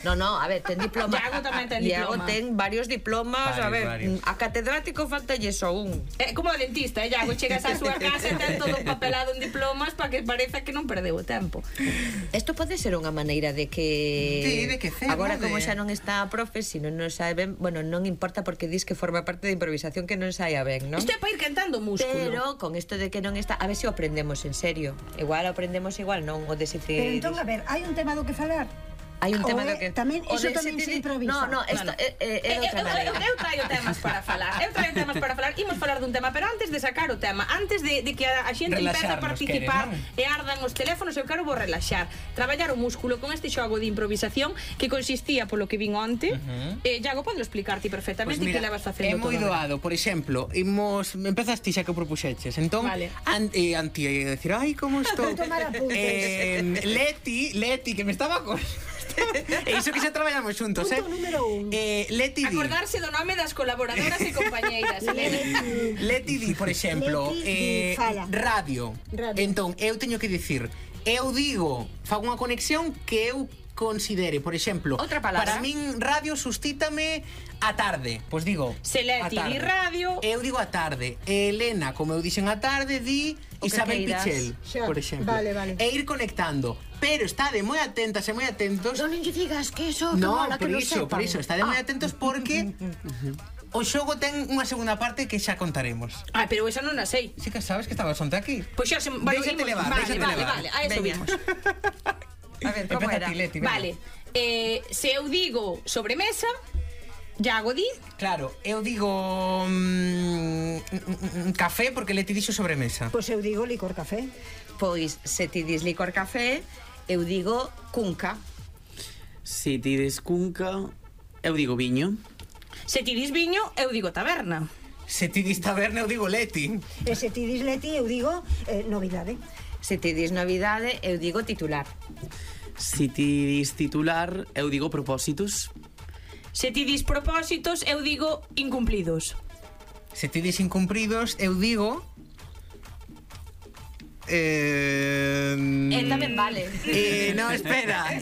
No, a ver, ten diploma. Iago tamén ten diploma. Iago ten varios diplomas, a ver, a catedrático faltalle só un. Como a dentista, Iago, chegas á súa casa e ten todo papelado en diplomas para que pareza que non perdeu o tempo. Isto pode ser unha maneira de que... Sí, de que cero, agora, como xa non está a profe, se non sabe ben, bueno, non importa porque dis que forma parte de improvisación que non saia ben, non? Isto é para ir cantando músculo. Pero con isto de que non está, a ver se o aprendemos en serio. Igual o aprendemos, igual non, o de se... Pero entón, a ver, hai un tema do que falar. Hai un tema do que... Tamén, iso tamén se improvisa. No, isto é outra maneira. Eu traio temas para falar. Imos falar dun tema, pero antes de sacar o tema, antes de que a xente empece a participar e ardan os teléfonos, eu quero vos relaxar. Traballar o músculo con este xogo de improvisación que consistía, polo que vin onte. Iago, podes explicarte perfectamente que levas facendo todo. É moi doado, por exemplo, empezas ti xa que o propuxeches. Entón, anti decir, ai, como estou? Leti, que me estaba con... E iso que xa traballamos xuntos, Punto número 1. Leti di. Acordarse do nome das colaboradoras e compañeiras. Leti di, por exemplo, radio. Entón, eu teño que dicir, eu digo, fago unha conexión que eu considere, por exemplo, outra palabra. Para min radio sustítame a tarde. Pois digo, se Leti di radio, eu digo a tarde. Elena, como eu dixen a tarde, di Isabel Pichel, por exemplo. Vale. E ir conectando. Pero estade moi atentas e moi atentos. Non lle digas que eso, que no, mola, que non sepan. Por iso, estade moi atentos porque o xogo ten unha segunda parte que xa contaremos. Pero esa non a sei. Si que sabes que estaba sonte aquí. Pois xa se... Déxate levar. Vale, a eso vimos. A ver, como era? Leti, vale, se eu digo sobremesa, Iago di? Claro, eu digo café porque Leti dixo sobremesa. Pois eu digo licor café. Pois, se ti dis licor café, eu digo cunca. Se ti dis cunca, eu digo viño. Se ti dis viño, eu digo taberna. Se ti dis taberna, eu digo Leti. E se ti dis Leti, eu digo novidade. Se ti dis novidade, eu digo titular. Se ti dis titular, eu digo propósitos. Se ti dis propósitos, eu digo incumplidos. Se ti dis incumpridos, eu digo... tamén vale. No, espera.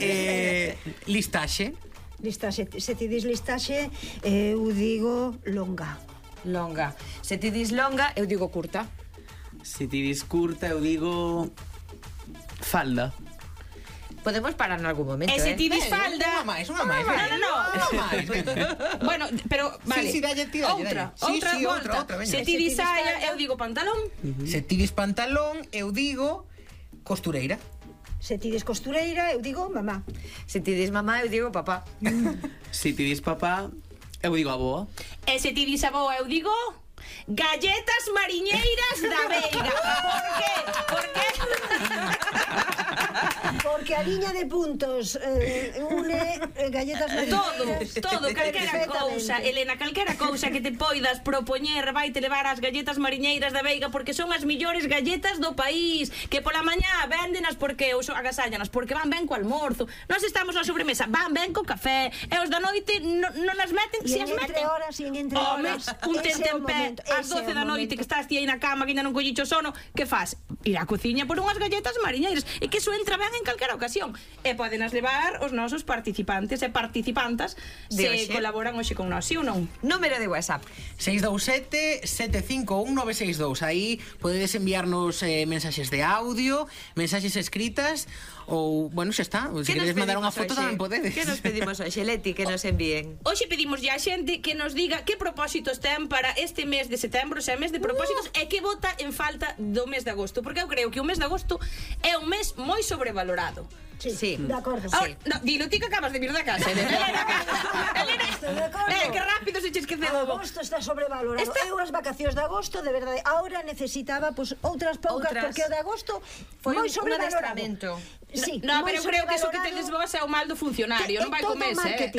Listaxe. Se ti dis listaxe, eu digo longa. Longa. Se ti dis longa, eu digo curta. Se ti dis curta, eu digo falda. Podemos parar en algún momento, se ti dis falda... Unha máis. No. Bueno, pero, vale. Sí, dalle. Outra volta. Se ti dis saia, eu digo pantalón. Se ti dis pantalón, eu digo costureira. Se ti dis costureira, eu digo mamá. Se ti dis mamá, eu digo papá. Se ti dis papá, eu digo avoa. E se ti dis avoa, eu digo... galletas mariñeiras da Veiga. Por qué? Porque a liña de puntos une galletas mariñeiras. Todo, calquera cousa, Elena, calquera cousa que te poidas propoñer vai te levar as galletas mariñeiras da Veiga porque son as millores galletas do país, que pola mañá véndenas porque ou agasállanas, porque van ben co almorzo. Nós estamos na sobremesa, van ben co café, e os da noite non as meten, se as meten. Entre horas, un tentempé ás 12 da noite que estás ti aí na cama que ainda non collicho sono, que faz? Ir á cociña por unhas galletas mariñeiras, e que iso entra ben en calquera ocasión, e podenas levar os nosos participantes e participantas se colaboran hoxe con nós, si ou non? Número de WhatsApp 627-751-962. Aí podedes enviarnos mensaxes de audio, mensaxes escritas, ou, bueno, xa está, se queredes mandar unha foto tamén podedes. Que nos pedimos hoxe, Leti, que nos envíen? Hoxe pedimos ya a xente que nos diga que propósitos ten para este mes de setembro, xa mes de propósitos, e que vota en falta do mes de agosto, porque eu creo que o mes de agosto é un mes moi sobrevalorado. Sí, de acordo. Dilo ti que acabas de vir da casa, Elena. Que rápido se che esqueceu. Agosto está sobrevalorado. Eu as vacacións de agosto, de verdade, ahora necesitaba outras poucas, porque o de agosto foi moi sobrevalorado. Sí, no, pero eu creo que iso que tedes vos é o mal do funcionario, non vai co mes, É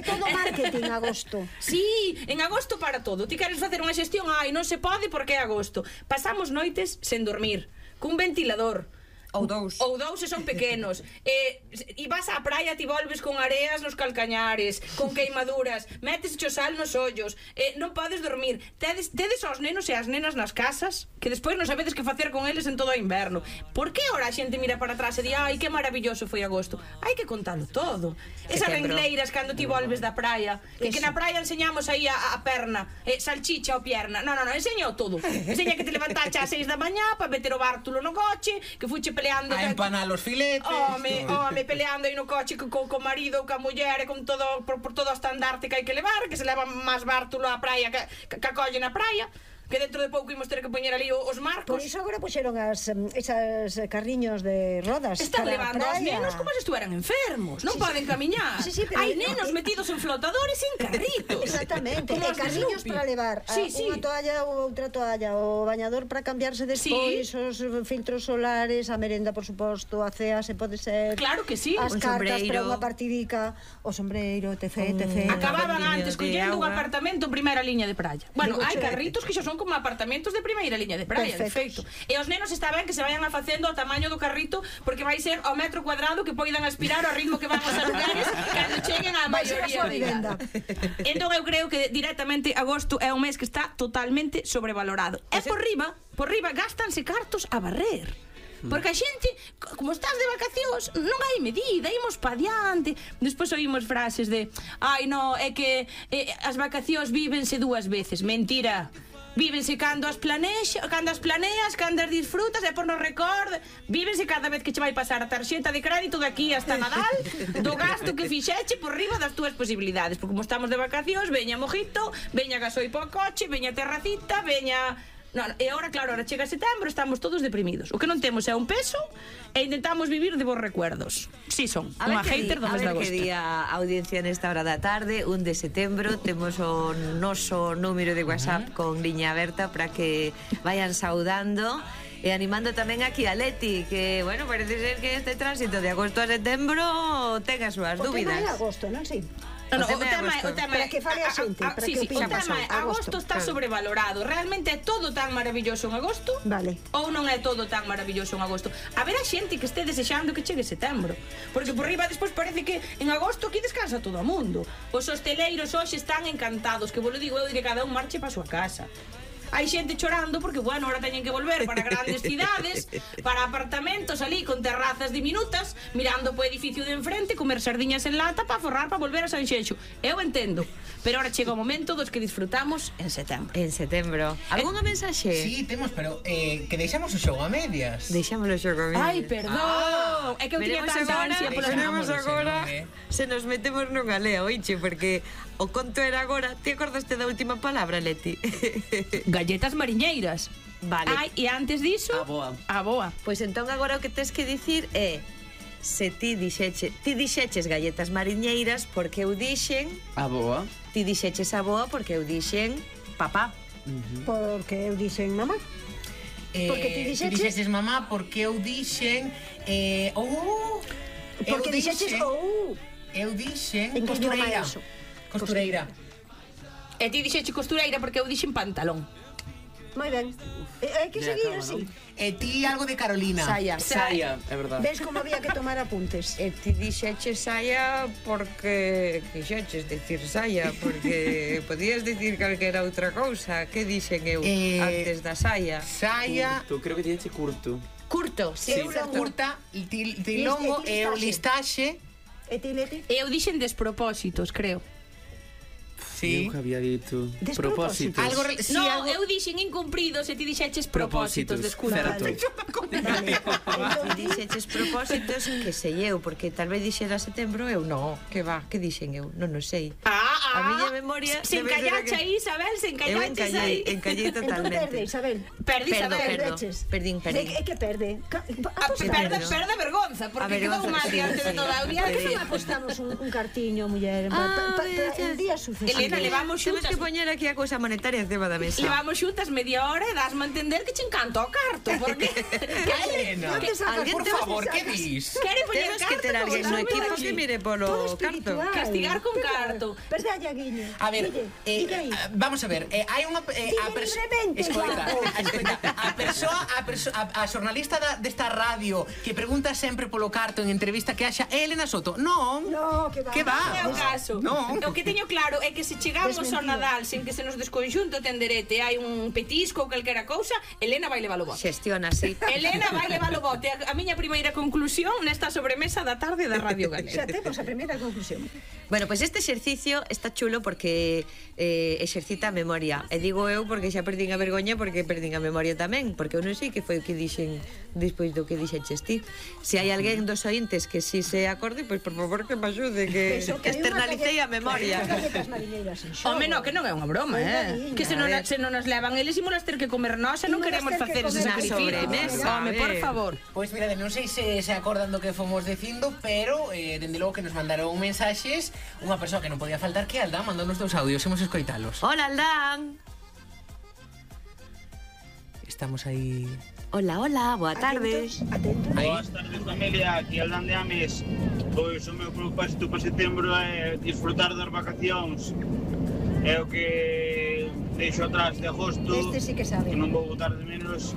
todo marketing agosto. Sí, en agosto para todo. Ti queres facer unha xestión, non se pode porque é agosto. Pasamos noites sen dormir, cun ventilador. Ou dous e son pequenos. E vas á praia, ti volves con areas nos calcañares, con queimaduras, metes o sal nos ollos, non podes dormir. Tedes aos nenos e as nenas nas casas, que despois non sabedes que facer con eles en todo o inverno. Por que ora a xente mira para atrás e di, ai, que maravilloso foi agosto? Hai que contalo todo. Esas rengleiras cando ti volves da praia, que na praia enseñamos aí a perna, salchicha ou pierna. Non, enseño todo. Enseña que te levantaste ás 6 da mañá para meter o bártulo no coche, que fuche peleando a empanar os filetes. Home, peleando aí no coche co marido, ca muller, con todo por todo o estandarte que hai que levar, que se leva máis bártulo á praia que acolle na praia, que dentro de pouco imos ter que poñer ali os marcos. Por iso agora puxeron esas carriños de rodas. Están levando aos nenos como se estuveran enfermos. Non poden camiñar. Hai nenos metidos en flotadores e en carritos. Exactamente. E carriños para levar unha toalla ou outra toalla, o bañador para cambiarse despois, os filtros solares, a merenda, por suposto, a cea, se pode ser. Claro que sí. As cartas para unha partidica, o sombreiro, etc. Acababan antes collendo un apartamento en primeira liña de praia. Bueno, hai carritos que xa son como apartamentos de primeira liña de praia, de feito. E os nenos está ben que se vayan a facendo ao tamaño do carrito, porque vai ser ao metro cuadrado que poidan aspirar ao ritmo que van os lugares cando cheguen á maioría de idade. Entón eu creo que directamente agosto é un mes que está totalmente sobrevalorado. E por riba gastanse cartos a barrer. Porque a xente, como estás de vacacións, non hai medida, imos pa diante. Despois oímos frases de ai, no, é que as vacacións vívense dúas veces. Mentira. Vívense cando as planeas, cando as disfrutas e por no record. Vívense cada vez que che vai pasar a tarxeta de crédito de aquí hasta Nadal, do gasto que fixeche por riba das túas posibilidades. Porque como estamos de vacacións, veña mojito, veña gasoi po coche, veña terracita, veña... Non, e agora, claro, ahora chega setembro, estamos todos deprimidos. O que non temos é un peso e intentamos vivir de bons recuerdos. Si son, unha hater do mes de agosto. A ver que día a audiencia nesta hora da tarde, 1 de setembro, temos o noso número de WhatsApp con liña aberta para que vayan saudando e animando tamén aquí a Leti, que, bueno, parece ser que este tránsito de agosto a setembro ten as súas dúbidas. O tema é agosto, non? Sí. O tema para que fale a xente, para que opine. O tema é, agosto está sobrevalorado. Realmente é todo tan maravilloso en agosto? Vale. Ou non é todo tan maravilloso en agosto? A ver a xente que este desexando que chegue setembro. Porque por riba despois parece que en agosto aquí descansa todo o mundo. Os hosteleiros hoxe están encantados, que vos lo digo eu, de que cada un marche para a súa casa. Hai xente chorando porque, bueno, ahora teñen que volver para grandes cidades, para apartamentos ali con terrazas diminutas, mirando po edificio de enfrente, comer sardiñas en lata para forrar para volver a Sanxenxo. Eu entendo, pero ahora chega o momento dos que disfrutamos en setembro. En setembro. Algúnha mensaxe? Sí, temos, pero que deixamos o xogo a medias. Deixamos o xogo a medias. Ai, perdón. É que eu tiña tanta ansia polas veremos agora. Se nos metemos nunha lea, oiche, porque o conto era agora. Te acordaste da última palabra, Leti? Galletas mariñeiras. Vale. Ai, e antes diso, a boa. Pois entón agora o que tes que dicir é se ti dixeches galletas mariñeiras porque eu dixen a boa. Ti dixeches a boa porque eu dixen papá. Porque eu dixen mamá. Porque ti dixeches mamá porque eu dixen porque dixeches eu dixen costureira. Costureira. E ti dixeche costureira porque eu dixen pantalón. Moi ben. Hai que seguir así. E ti algo de Carolina. Saia, é verdade. Ves como había que tomar apuntes. E ti dixeches saia porque quixeches dicir saia, porque podías dicir calquera outra cousa. Que dixen eu antes da saia? Saia. Curto, creo que dixeche curto. Curto, sí. Curta, ti longo e o listaxe. E ti, Leti? Eu dixen despropósitos, creo. Sí. Eu que había dito propósitos. No, eu dixen incumpridos e ti dixeches propósitos, desculpa. Dixeches propósitos que sei eu, porque tal vez dixera setembro eu non, que va, que dixen eu, non o sei. A miña memoria se encallache aí, Isabel, se encallaches aí. Eu encallei totalmente. Entón perde, Isabel. Perdi, Isabel. Perdín. É que perde. Perde vergonza, porque quedou mal diante de toda a audiencia. Por que non apostamos un cartiño, muller, para el día sucesivo? Elena, levamos xuntas. Temos que poñer aquí a cousa monetaria encima da mesa. Levamos xuntas media hora e dasme a entender que che encanta o carto, porque... Elena, por favor, que dis? Quere poñer Temos carto? que ter alguén no equipo que mire polo carto. Castigar con carto. Perdalla, Guille. A ver, vamos a ver, hai unha a xornalista desta radio que pregunta sempre polo carto en entrevista que haxa é Elena Soto. Non, que va. Non é o caso. O que teño claro é que se chegamos ao Nadal sin que se nos desconxunte o tenderete, hai un petisco ou calquera cousa, Elena vai levar o bote. Xestiona así. Elena vai levar o bote. A miña primeira conclusión nesta sobremesa da tarde da Radio Galega. Xa temos a primeira conclusión. Bueno, pois este exercicio está chulo porque exercita a memoria. E digo eu porque xa perdín a vergoña porque perdín a memoria tamén, porque eu non sei que foi o que dixen despois do que dixeches ti. Se hai alguén dos ointes que si se acorde, pois por favor que me axude, que externalicei a memoria. Home, no, que non é unha broma, que se non nos levan eles imos ter que comer nós e non queremos facer ese sacrificio. Home, por favor. Pois mirade, non sei se acordan do que fomos dicindo, pero dende logo que nos mandaron mensaxes unha persoa que non podía faltar, que Aldán, mandou nos 2 audios, imos escoitalos. Hola, Aldán. Estamos aí. Hola, hola, boa tarde. Boas tardes, familia, aquí Aldán de Ames. Pois o meu propósito para setembro é disfrutar das vacacións. É o que deixo atrás de agosto. Este sí que sabe. Que non vou botar de menos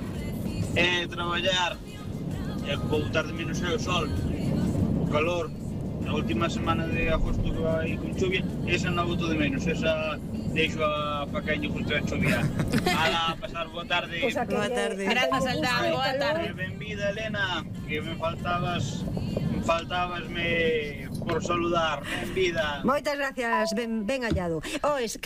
é traballar. É que vou botar de menos é o sol, o calor. A última semana de agosto que vai con chuvia, esa non boto de menos, esa deixo a facaño justo a chovia. Ala, pasar boa tarde. Boa tarde. Grazas, Aldán, boa tarde. Benvida, Elena, que me faltabasme por saludar. Benvida. Moitas gracias, ben hallado. Es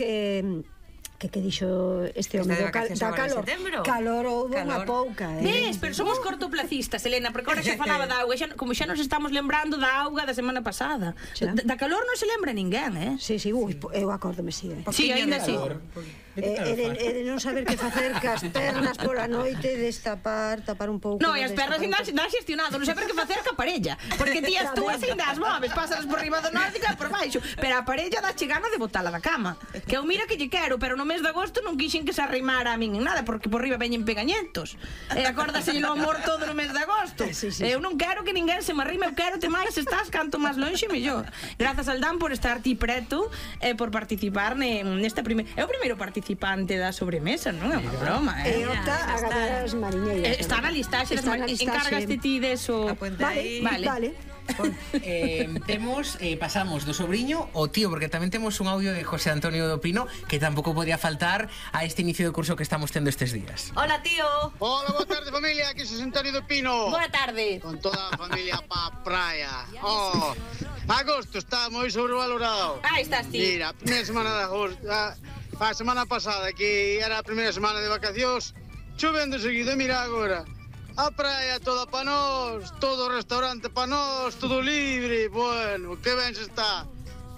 que dixo este home da calor. Calor houve unha pouca, Ves, pero somos cortoplacistas, Elena, porque agora xa falaba da auga, como xa nos estamos lembrando da auga da semana pasada. Da calor non se lembra ninguén, Sí, eu acórdome, sí. Sí, ainda sí. É de non saber que facer cas pernas pola noite, tapar un pouco. No, e as pernas ainda xestionado, non saber que facer ca parella, porque ti as túas ainda as moves, pasalas por riba do norte e por baixo, pero a parella dá chegana de botala da cama. Que eu mira que lle quero, pero no mes de agosto non quixen que se arrimara a min en nada, porque por riba veñen pegañentos. E acórdase o amor todo no mes de agosto. Eu non quero que ninguén se me arrime, eu quero te máis, estás canto máis lonxe mellor. Grazas, Aldán, por estar ti preto e por participar nesta primeira. É o primeiro participante da sobremesa, non é unha broma, E opta a ganar as mariñeiras. Está na listaxe, encárgaste ti deso. Vale. Pasamos do sobriño ao tío, porque tamén temos un audio de José Antonio do Pino que tampouco podía faltar a este inicio de curso que estamos tendo estes días. Hola, tío. Hola, boa tarde, familia, aquí José Antonio do Pino. Boa tarde. Con toda a familia pa praia. Agosto está moi sobrevalorado. Aí estás ti. Mira, primeira semana de agosto, a semana pasada, que era a primeira semana de vacacións, chovendo seguido, mira agora. A praia toda pa nós, todo o restaurante pa nós, todo libre, bueno, que ben se está.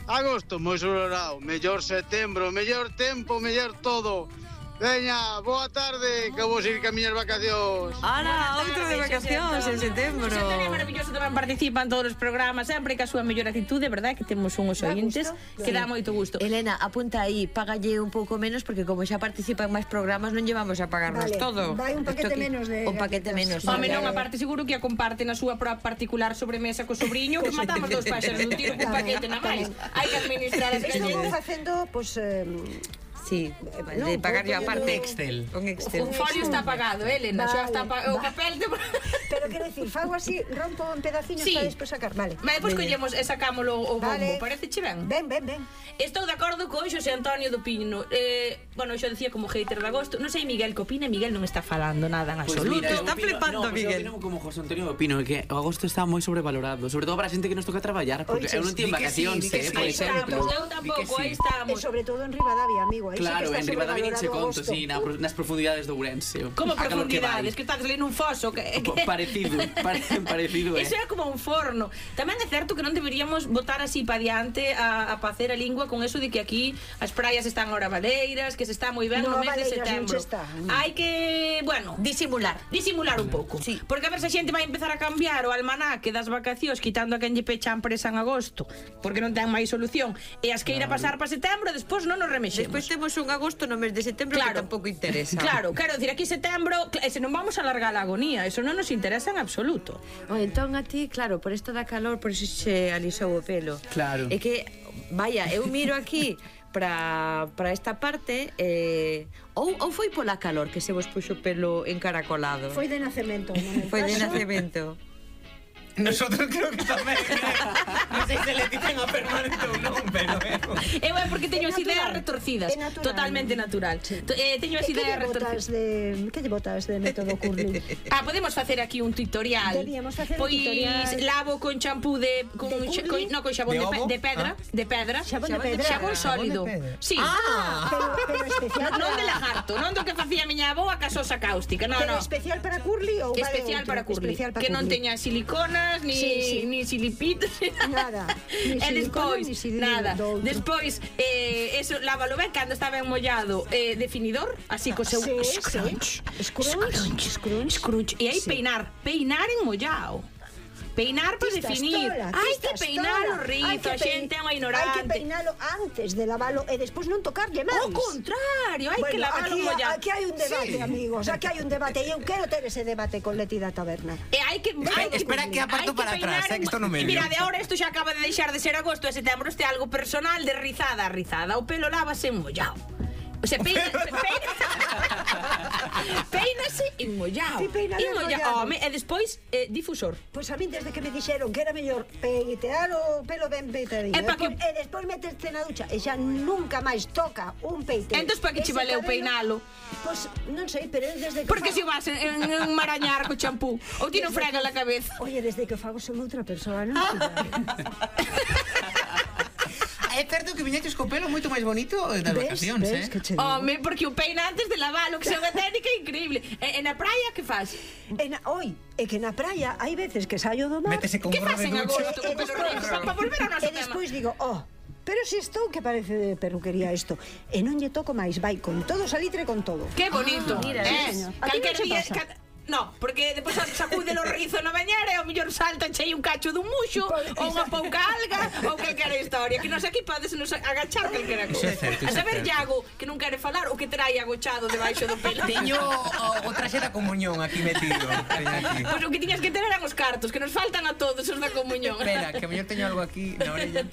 Agosto, moi sobrevalorado, mellor setembro, mellor tempo, mellor todo. Veña, boa tarde, que vou seguir camiñas vacacións. Ala, outro de vacacións en setembro. Xosé Antonio é maravilloso, tamén participa en todos os programas, sempre que a súa mellor actitude, verdad, que temos unhos ointes que dá moito gusto. Elena, apunta aí, págalle un pouco menos porque como xa participa en máis programas non llevamos a pagarnos todo. Vai un paquete menos de un paquete menos. Home, non, aparte seguro que a comparte na súa particular sobremesa co sobrinho, que matamos dos páxaros nun tiro cun paquete na máis. Hai que administrar as Estamos facendo, Sí, de pagar yo aparte Excel. Un folio está pagado, Elena, xa está o papel de... Pero quero dicir, fago así, rompo en pedaciños para despois sacar, vale. Despois collemos e sacámolo o bombo, pareceche ben? Ben. Estou de acordo con Xosé Antonio do Pino. Bueno, xo decía como hater de agosto. Non sei Miguel que opina, Miguel non está falando nada en absoluto. Está flipando Miguel. Eu opino como José Antonio do Pino, que o agosto está moi sobrevalorado, sobre todo para a xente que nos toca traballar, porque eu non teño vacacións, por exemplo. Eu tampouco, aí estamos. E sobre todo en Ribadavia, amigo, aí Claro, en Ribadavia nin se conto, sí, nas profundidades do Ourense. Como profundidades? Que estás ali nun foso? Parecido, parecido, Iso é como un forno. Tamén é certo que non deberíamos botar así pa diante a facer a lingua con eso de que aquí as praias están ahora baleiras, que se está moi ben no mes de setembro. Hai que, bueno, disimular un pouco. Porque a ver se a xente vai empezar a cambiar o almanaque das vacacións, quitando a quen lle pecha a empresa en agosto, porque non ten máis solución, e as que ir a pasar para setembro, despois non nos remexemos. Despois temos un agosto no mes de setembro que tampouco interesa. Claro, quero dicir, aquí setembro, se non vamos a alargar a agonía, eso non nos interesa en absoluto. Entón a ti, claro, por isto da calor, por iso se alisou o pelo. Claro. É que, vaya, eu miro aquí para esta parte, ou foi pola calor que se vos puxo o pelo encaracolado? Foi de nacemento. Foi de nacemento. Nosotros creo que tamén. Non sei se le dicen a permanente ou non, pero eu é porque teño as ideas retorcidas. Totalmente natural. Teño as ideas retorcidas. Que lle botas de método curling? Podemos facer aquí un tutorial. Deberíamos facer un tutorial. Pois lavo con champú con xabón de pedra, xabón sólido. Sí. Pero especial non de lagarto, non do que facía miña avó a casosa cáustica. No, no. Especial para curly ou especial para curly, que non teña silicona ni silipitos, nada. E despois, nada. Despois, eso, lávalo ben cando está ben mollado, definidor, así co seu scrunch. E aí peinar en mollado. Peinar para definir. Hai que peinar o rizo, a xente é unha ignorante. Hai que peinalo antes de lavalo e despois non tocarlle máis. Ao contrario, hai que lavalo mollado. Aquí hai un debate, amigos, aquí hai un debate e eu quero ter ese debate con Leti da Taberna. E hai que espera que aparto para atrás, que isto non me mira, de ahora isto xa acaba de deixar de ser agosto e setembro, este algo personal de rizada. O pelo lávase mollado. O sea, peínase en mollado. Home, e despois difusor. Pois a mí desde que me dixeron que era mellor peitear o pelo ben peitadinho e despois meterte na ducha e xa nunca máis toca un peite. Entón, para que che valeu peinalo? Pois non sei, pero desde que porque se vas en marañar co champú ou ti non frega la cabeza. Oye, desde que fago son outra persoa, non? É certo que viñetes co pelo moito máis bonito das vacacións, Home, porque o peina antes de lavalo, que é unha técnica increíble. E na praia, que faz? É que na praia hai veces que saio do mar. Métese con gorro de ducha. Que faz en agosto con pelo rizo? Para volver ao noso tema. E despois digo, pero se estou que parece de perruquería isto. E non lle toco máis, vai con todo salitre con todo. Que bonito. Mira, calquer día... No, porque depois sacude o rizo na bañera e ao mellor salta chei un cacho dun muxo ou unha pouca alga ou calquera historia, que nos aquí podes nos agachar calquera cousa. A saber, Iago, que non quere falar o que trai agochado debaixo do pelo. Teño o traxe da comunión aquí metido. Pois o que tiñas que ter eran os cartos, que nos faltan a todos os da comunión. Espera, que a mellor teño algo aquí na orella.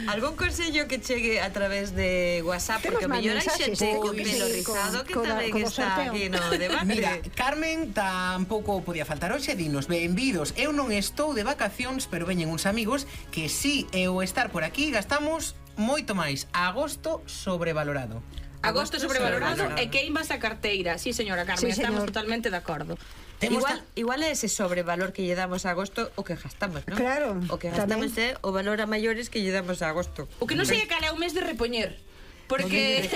Algún consello que chegue a través de WhatsApp, porque a mellor hai xente con pelo rizado que tamén está aquí no debate. Mira, Carmen tampouco podía faltar hoxe, dinos, benvidos. Eu non estou de vacacións, pero veñen uns amigos que si é o estar por aquí gastamos moito máis. Agosto sobrevalorado. Agosto sobrevalorado e queimas a carteira. Sí, señora Carmen, estamos totalmente de acordo. Igual é ese sobrevalor que lle damos a agosto o que gastamos, non? Claro. O que gastamos é o valor a maiores que lle damos a agosto. O que non sei é cal é o mes de repoñer. Porque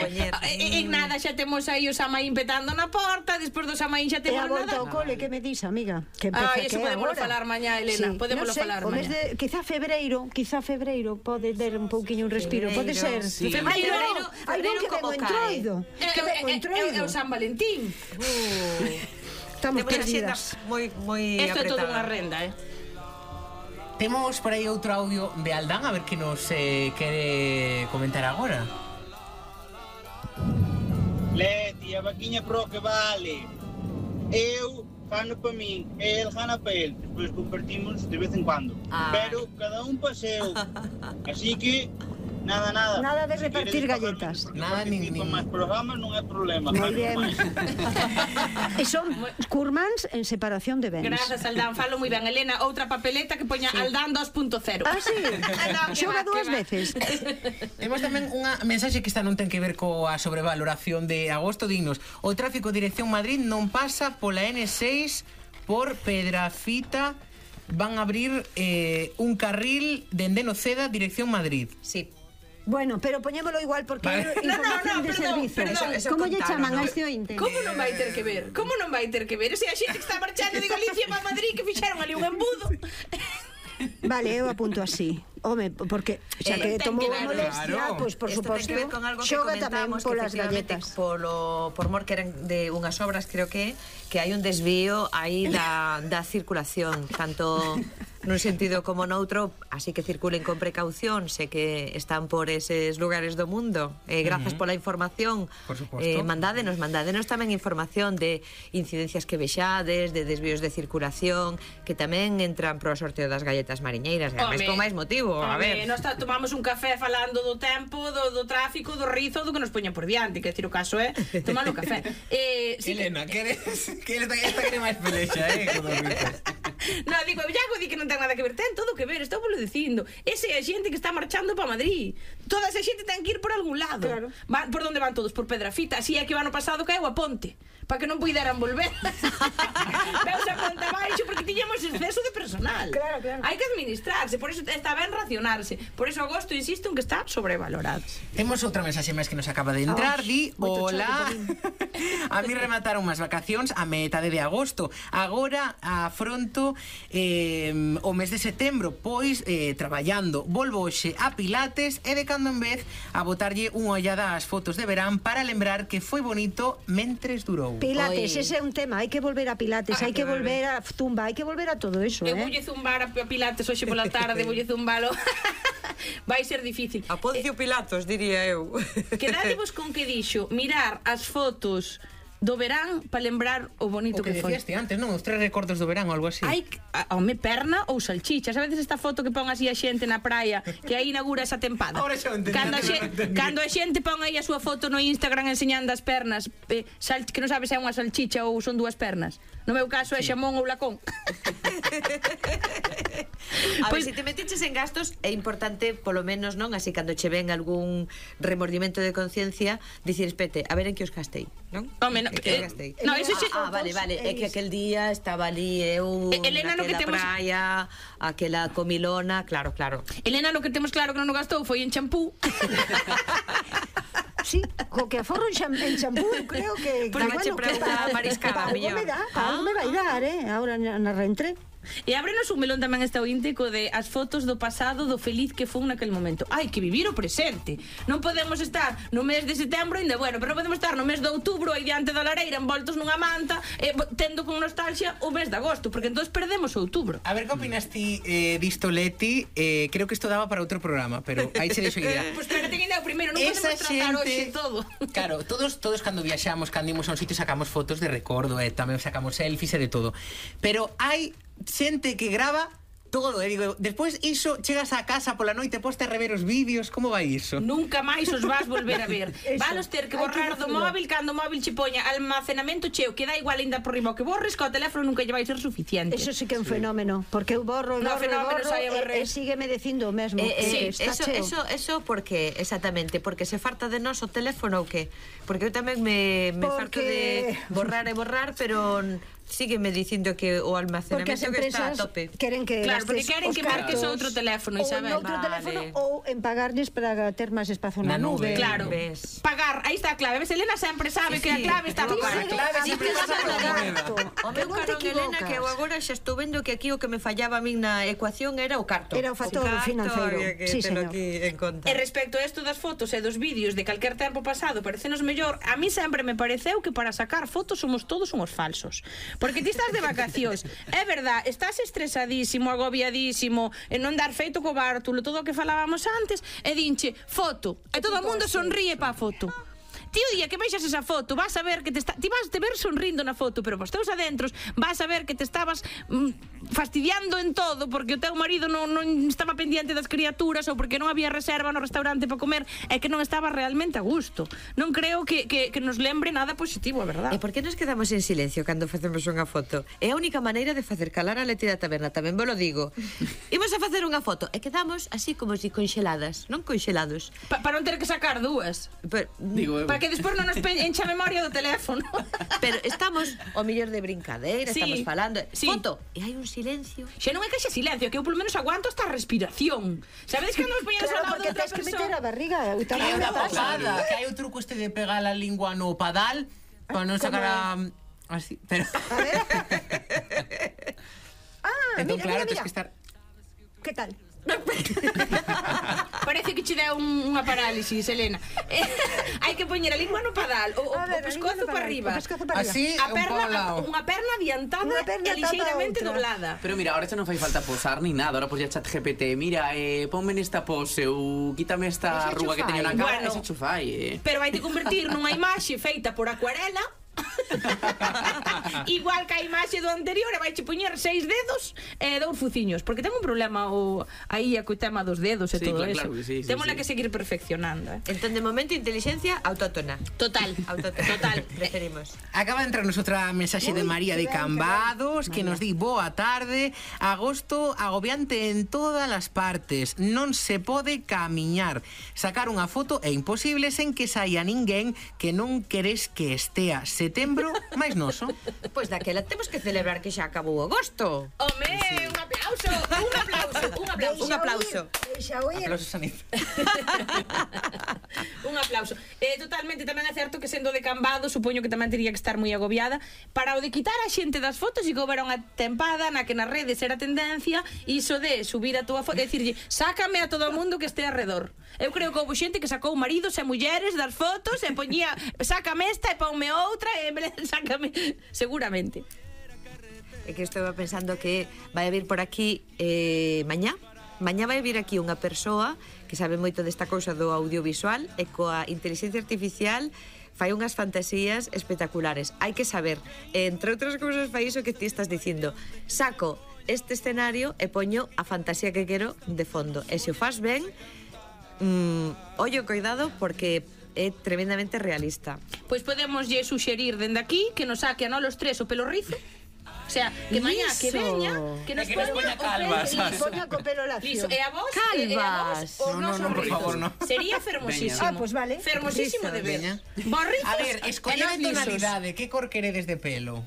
en nada xa temos aí o Samaín petando na porta, despois do Samaín xa temos nada. E a volta ao cole, que me dis, amiga? Que eso podemos falar mañá, Elena. Podemos falar mañá. Quizá febreiro pode ter un pouquiño un respiro. Pode ser. Febreiro como cae. É o San Valentín. Estamos perdidas. Moi isto é toda unha renda, Temos por aí outro audio de Aldán, a ver que nos quere comentar agora. Leti, a vaquiña pro que vale. Eu fano para min, el gana para el. Despois compartimos de vez en cuando. Pero cada un paseo. Así que nada. Nada de repartir galletas. Nada nin máis programas non é problema. Moi bien. E son curmans en separación de bens. Grazas, Aldán, falo moi ben. Elena, outra papeleta que poña Aldán 2.0. Sí. Xoga dúas veces. Temos tamén unha mensaxe que esta non ten que ver coa sobrevaloración de agosto. Dignos, o tráfico dirección Madrid non pasa pola N6 por Pedrafita. Van a abrir un carril dende Noceda dirección Madrid. Sí. Bueno, pero poñémolo igual porque é información de servizo. Como lle chaman a este ointe? Como non vai ter que ver? Como non vai ter que ver? Se a xente que está marchando de Galicia para Madrid que fixeron ali un embudo. Vale, eu apunto así. Home, porque xa que tomou a molestia, pois por suposto, xoga tamén polas galletas. Por mor que eran de unhas obras, creo que hai un desvío aí da circulación, tanto nun sentido como noutro, así que circulen con precaución, sé que están por eses lugares do mundo. Grazas pola información. Por suposto. Mandádenos tamén información de incidencias que vexades, de desvíos de circulación, que tamén entran pro sorteo das galletas mariñeiras, ademais con máis motivo. A ver, nós tomamos un café falando do tempo, do tráfico, do rizo, do que nos poñan por diante, que decir o caso é tomar un café. Elena, que esta quere máis pelexa, con os rizos. No, digo, Iago di que non ten nada que ver, ten todo que ver, estou polo dicindo. Ese é a xente que está marchando para Madrid. Toda esa xente ten que ir por algún lado. Claro. Por onde van todos? Por Pedrafita. Así é que o ano pasado caeu a ponte, para que non puideran volver. Veus a ponte abaixo porque tiñamos exceso de personal. Claro. Hai que administrarse, por eso está ben racionarse. Por eso agosto insisto en que está sobrevalorado. Temos outra mensaxe máis que nos acaba de entrar. Di, hola. A mí remataron as vacacións a metade de agosto. Agora afronto o mes de setembro, pois traballando. Volvo hoxe a Pilates e de cando en vez a botarlle unha ollada ás fotos de verán para lembrar que foi bonito mentres durou. Pilates, ese é un tema, hai que volver a Pilates, hai que volver a Zumba, hai que volver a todo eso, Eu voulle zumbar a Pilates hoxe pola tarde, voulle zumbalo. Vai ser difícil. A Poncio Pilatos, diría eu. Quedádevos con que dixo mirar as fotos do verán para lembrar o bonito que foi. O que decíaste antes, non? Os 3 recordos do verán ou algo así. Hai, home, perna ou salchichas. A veces esta foto que pon así a xente na praia, que aí inaugura esa tempada. Ahora xa entendí. Cando a xente pon aí a súa foto no Instagram enseñando as pernas, que non sabe se é unha salchicha ou son dúas pernas. No meu caso é xamón ou lacón. A ver, se te metiches en gastos, é importante, polo menos, non? Así, cando che ven algún remordimento de conciencia, dicir, espete, a ver en que os gastei, non? Home, no, eso xe... vale, é que aquel día estaba ali eu Elena, naquela praia, aquela comilona, claro. Elena, lo que temos claro que non o gastou foi en champú. Sí, co que aforro en champú, creo que... Pues me che pregunta mariscada, mellor. Algo me vai dar, agora na reentré. E ábrenos un melón tamén este ointe co de as fotos do pasado, do feliz que fun naquel momento. Hai que vivir o presente. Non podemos estar no mes de setembro ainda, bueno, pero non podemos estar no mes de outubro aí diante da lareira envoltos nunha manta, tendo con nostalgia o mes de agosto, porque entón perdemos outubro. A ver, que opinas ti disto, Leti? Creo que isto daba para outro programa, pero aí se deixo idea. Pois pero ten idea o primeiro, non podemos tratar hoxe todo. Claro, todos cando viaxamos, cando imos a un sitio sacamos fotos de recordo, tamén sacamos selfies e de todo. Pero hai xente que grava todo, digo, despois iso chegas a casa pola noite, poste a rever os vídeos, como vai iso? Nunca máis os vas volver a ver. Valos ter que borrar do móvil cando o móvil che poña almacenamento cheo, que dá igual ainda por riba o que borres, que o teléfono nunca lle vai ser suficiente. Eso sí que é un fenómeno, porque eu borro e sígueme dicindo o mesmo. Eso porque, exactamente, porque se farta de nós o teléfono ou que? Porque eu tamén me farto de borrar, pero sígueme dicindo que o almacenamento que está a tope. Queren que claro, porque queren que marques outro teléfono, Isabel. Ou outro teléfono ou en pagarles para ter máis espazo na nube. Claro. Pagar, aí está a clave. Ves, Elena sempre sabe que a clave está para pagar. A clave sempre pasa por moneda. O meu caro, Elena, que eu agora xa estou vendo que aquí o que me fallaba a min na ecuación era o carto. Era o factor financeiro. Sí, señor. E respecto a isto das fotos e dos vídeos de calquer tempo pasado, parecenos mellor. A mí sempre me pareceu que para sacar fotos somos todos uns falsos. Porque ti estás de vacacións, é verdad, estás estresadísimo, agobiadísimo, en non dar feito co bártulo, todo o que falábamos antes, e dinche, foto, e todo o mundo sonríe pa foto. Ti o día que veixas esa foto, vas a ver que ti vas te ver sonrindo na foto, pero vos teus adentros vas a ver que te estabas fastidiando en todo porque o teu marido non estaba pendiente das criaturas ou porque non había reserva no restaurante para comer e que non estaba realmente a gusto. Non creo que nos lembre nada positivo, a verdade. E por que nos quedamos en silencio cando facemos unha foto? É a única maneira de facer calar a Leti da taberna, tamén vos lo digo. Imos a facer unha foto e quedamos así como si conxeladas, non conxelados. Para non ter que sacar dúas. Para que despois non nos encha a memoria do teléfono. Pero estamos o mellor de brincadeira, sí, estamos falando sí. Foto, e hai un silencio. Xa non é que xa silencio, que eu polo menos aguanto hasta a respiración. Sabedes que nos poñas ao lado Claro, porque de outra tens que meter persoa? a barriga. Que Tamén hai me unha pasa. posada, que hai o truco este de pegar a lingua no padal para non sacar a... Así, pero... A ver. Entón, Mira, claro, mira, tens mira. que estar... Que tal? Parece que che deu unha parálisis, Elena. Hai que poñer a lingua no padal, o A ver, a pescozo lingua no para padal, arriba. o pescozo para arriba. Así, A un pouco ao lado. unha perna adiantada Unha perna e lixeiramente atada a outra. doblada. Pero mira, ahora xa non fai falta posar ni nada. Ahora pues ya chat GPT, mira, ponme nesta pose ou quítame esta Ese arruga que teño na cara, Bueno. ese chufai, Pero vai te convertir nunha imaxe feita por acuarela. Igual que a imaxe do anterior, e vai che poñer 6 dedos e 2 fuciños, porque ten un problema aí co tema dos dedos e Sí, todo claro, eso. sí, sí, Témola sí. que seguir perfeccionando, Entón, de momento, inteligencia autóctona. Total. Total. Preferimos. Acaba de entrarnos outra mensaxe de María de Cambados que nos di boa tarde. Agosto agobiante en todas as partes. Non se pode camiñar. Sacar unha foto é imposible sen que saia ninguén que non queres que estea. Setembro máis noso. Pois daquela temos que celebrar que xa acabou agosto. Home, un aplauso, un aplauso, un aplauso. Un aplauso. Deixa oír. Aplausos a Nif. Un aplauso. Totalmente, tamén é certo que sendo de Cambado, supoño que tamén tería que estar moi agobiada. Para o de quitar a xente das fotos, e que houbera unha tempada na que nas redes era tendencia, iso de subir a túa foto e dicirlle, sácame a todo o mundo que este arredor. Eu creo que houve xente que sacou maridos e mulleres das fotos e poñía, sácame esta e ponme outra e sácame, seguramente. É que estou pensando que vai a vir por aquí mañá. Mañá vai vir aquí unha persoa que sabe moito desta cousa do audiovisual e coa inteligencia artificial fai unhas fantasías espectaculares. Hai que saber, entre outras cousas, fai iso que ti estás dicindo. Saco este escenario e poño a fantasía que quero de fondo. E se o faz ben, ollo, cuidado, porque é tremendamente realista. Pois podemos lle suxerir dende aquí que nos saque a nós os tres o pelo rizo. O sea, que mañá que Liso. veña, que nos que nos poña poña o calvas, pelo sabes? liso. Poña co pelo lacio. Liso. E a vos, Calvas. o No, noso no, por rizos. favor, no. Sería fermosísimo. Veña. Ah, pues vale. Fermosísimo de ver. Veña. Vos rizos A ver, e escollede nós lisos. tonalidade. Que cor queredes de pelo?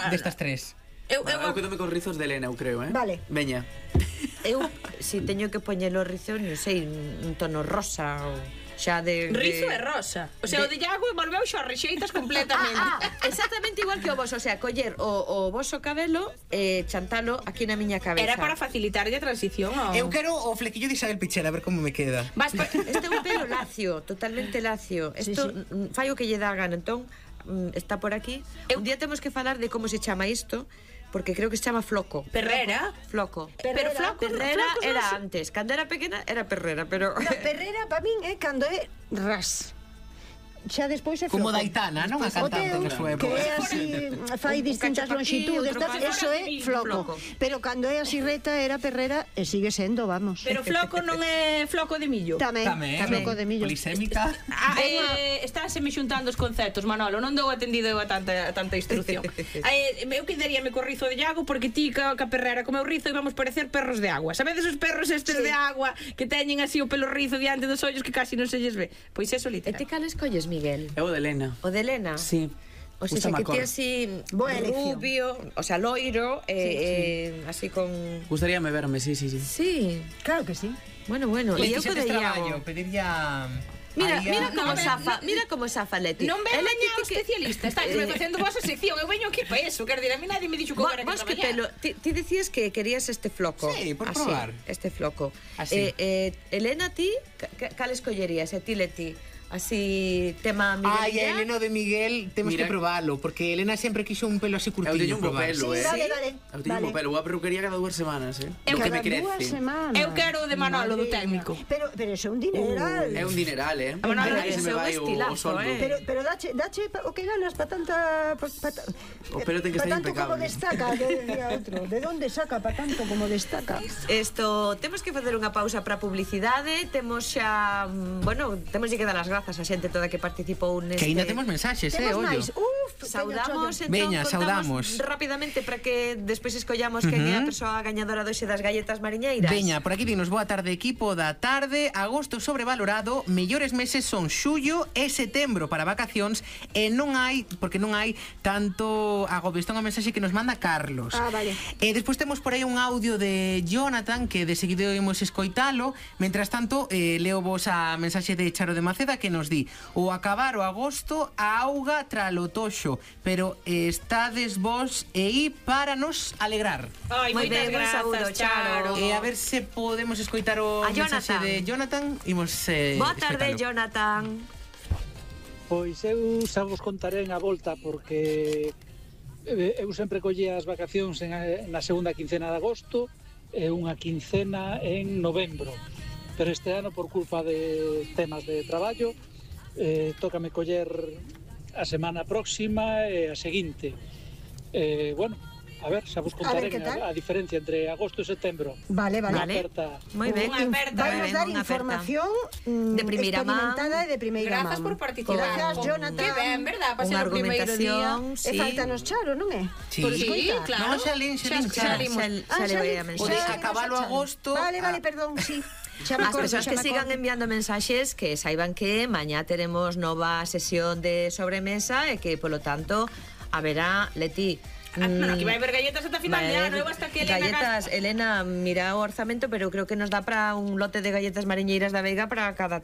Destas tres. Eu Eu quedome con rizos de Elena, eu creo, Vale. Veña. Eu, si teño que poñelo rizo, non sei, un tono rosa ou xa de... rizo e rosa. O sea, o de Iago volveu xo rexeitas completamente. Exactamente igual que o vos, o sea, coller o voso cabelo e chantalo aquí na miña cabeza. Era para facilitarlle a transición ao... Eu quero o flequillo de Isabel Pichel, a ver como me queda. Vas pa... Este é un pelo lacio, totalmente lacio. Isto fai o que lle dá a gana, entón está por aquí. Un día temos que falar de como se chama isto, porque creo que se chama floco. Perrera. Floco. Pero Perrera flocos era non antes. Cando era pequena era perrera, pero... No, perrera para min é cando é ras. Xa despois é Como floco. Daitana, non? A O cantante teu, na súa que época. é así, fai Un distintas cacho pa aquí, longitudes, outro tal, pa allá. eso é floco. Pero cando é así reta era perrera e sigue sendo, vamos. Pero floco non é floco de millo. Tamén, floco de millo. Polisémica. Estáse me xuntando os conceptos, Manolo. Non dou atendido eu a tanta instrucción. Eu quedaríame co rizo de Iago porque ti ca perrera como eu rizo íbamos parecer perros de agua. Sabedes os perros estes de agua que teñen así o pelo rizo diante dos ollos que casi non se lles ve? Pois eso E literal. ti cales colles, Miguel? Eu de Elena. O de Elena? Sí. O sea, que ti así Boa elección. rubio, o sea, loiro, así con... Gustaríame verme, sí. Sí, Claro que sí. bueno, e eu Leti, co se de tes Iago. traballo, pedirlla... Mira como a ver, zafa, mira como zafa Leti. Non ven Leti mañá o especialista. Estáis facendo vos a sección. Eu veño aquí para eso. Quero dir, a mí nadie me dixo que era que Vos que traballar. pelo, ti decías que querías este floco. Sí, por así, probar. este floco. Así. Elena, ti, cal escollerías? E ti, Leti? Así, tema Miguel. Ai, a Elena de Miguel temos Mira- que probalo, porque Elena sempre quixo un pelo así Eu curtiño teño un bo probar. pelo, Sí, vale. Eu teño un bo pelo. Vou a peluquería cada 2 semanas, Eu que me Cada dúas crece. semanas. Eu quero o de Manolo, do Madre técnico. mía. Pero eso é un dineral. É un dineral, Manolo, Aí se ese é me un vai o estilazo, soldo. Pero dache o que ganas para tanta... O pelo ten que pa estar tanto como impecable. destaca, que decía outro. De onde saca para tanto como destaca? Temos que facer unha pausa para publicidade. Temos xa, bueno, temos que dar as grazas grazas a xente toda que participou neste... Que ainda temos mensaxes, Temos ollo. máis. Saudamos, entón, Veña, contamos saudamos. rapidamente para que despois escollamos quen é a persoa gañadora doxe das galletas mariñeiras. Veña, por aquí dinos boa tarde, equipo da tarde. Agosto sobrevalorado, mellores meses son xullo e setembro para vacacións e non hai, porque non hai tanto agobio. Isto é unha mensaxe que nos manda Carlos. Vale. E despois temos por aí un audio de Jonathan que de seguido imos escoitalo. Mentras tanto, leo vos a mensaxe de Charo de Maceda que nos di: o acabar o agosto a auga tralo toxo, pero estades vos e aí para nos alegrar. Ai, Moi moitas ben, un saúdo, grazas, Charo. Charo. E a ver se podemos escoitar o A mensaxe Jonathan. de Jonathan. Imos Boa tarde, escoitalo. Jonathan. Pois eu xa vos contaré a volta porque eu sempre collía as vacacións na segunda quincena de agosto e unha quincena en novembro. Pero este ano, por culpa de temas de traballo, tócame coller a semana próxima e a seguinte. Bueno, a ver, xa vos contaré que tal. a diferencia entre agosto e setembro. Vale. Unha aperta. Moi ben. Unha aperta, Vai moi nos ben, dar unha aperta. información De primeira experimentada e de primeira Grazas man. por participar. Gracias, Jonathan. Que ben, verdad? Para Unha ser o primeiro día. argumentación, E faltanos Charo, non é? Sí. Por Sí, escoitar. claro. No, xa lin, Xa xa. limos. Xa le voy a O de mensaxe. acabalo agosto. Vale, perdón, sí. Xa me As acordo, persoas xa que me sigan acordo. enviando mensaxes que saiban que mañá teremos nova sesión de sobremesa e que, polo tanto, haberá, Leti, Aquí vai haber galletas ata final de ano, eu hasta que Elena galletas, Elena, mira o orzamento, pero creo que nos dá para un lote de galletas mariñeiras da Veiga para cada tarde.